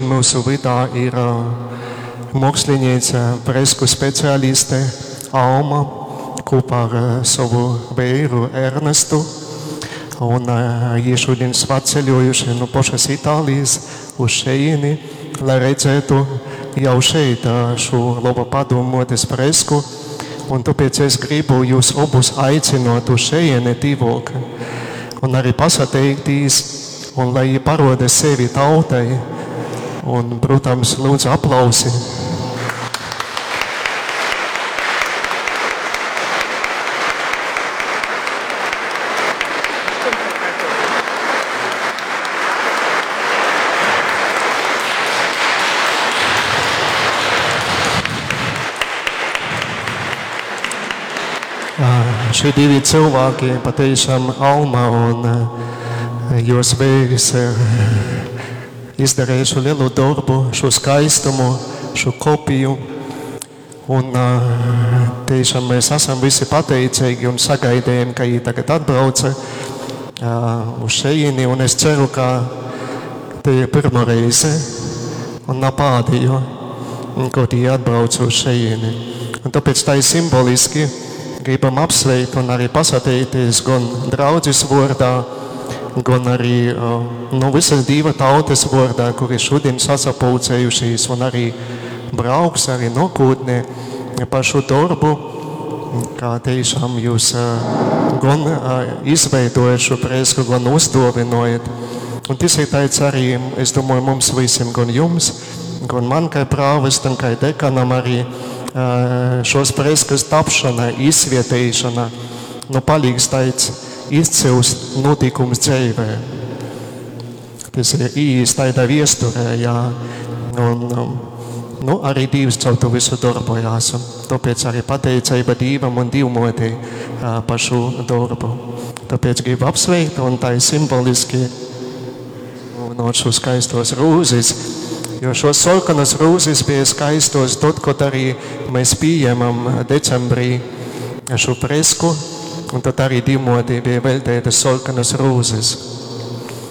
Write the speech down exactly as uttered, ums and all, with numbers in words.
mūsu vydā ir mākslinieca, fresku speciāliste Alma kopā ar savu vīru Ernestu. Un viņi šodien svētceļojuši no pašas Itālijas uz šejieni, lai redzētu jau šeit šo labo padomotes fresku. Un tāpēc es gribu jūs abus aicinot uz šejieni tīvok. Un arī pasateikties, un lai viņi paroda sevi tautai. Un, protams, lūdzu aplausi. Šie divi cilvēki patiešām Alma un jos vīrs izdarījuši lielu darbu, šo skaistumu, šo kopiju. Un tiešām mēs esam visi pateicīgi un sagaidījām, ka viņi tagad atbrauca uz šejieni. Un es ceru, ka te ir pirma reize un nav pēdējo, kad viņi atbrauc uz šejieni. Un tāpēc tā ir simboliski. Gribam apsveikt un arī pasateikties gan draudzes vārdā, gan arī nu, visas Dieva tautas vārdā, kuri šodien sasapulcējušies un arī brauks arī nākotnē par šo darbu, kā tiešām jūs gan izveidojat šo fresku, gan uzdāvinojat. Un tas ir tāds arī, es domāju, mums visiem, gan jums, gan man kā prāvestam, kā dekanam arī, šos freskas tapšana, izsvietēšana, nu palīgs tāds izcils notikums dzīvē. Tas ir īsti tādā viesturē, jā. Un, nu, arī Dievs caur to visu darbojās. Un tāpēc arī pateicība Dievam un Dievmotei par šo darbu. Tāpēc gribu apsveikt, un tā ir simboliski no šo skaistos rūzes. Jo šos sarkanas rūzes bija skaistos tad, kad arī mēs pieņemam decembrī šo fresku, un tad arī Dievmotei bija veltītas sarkanas rūzes.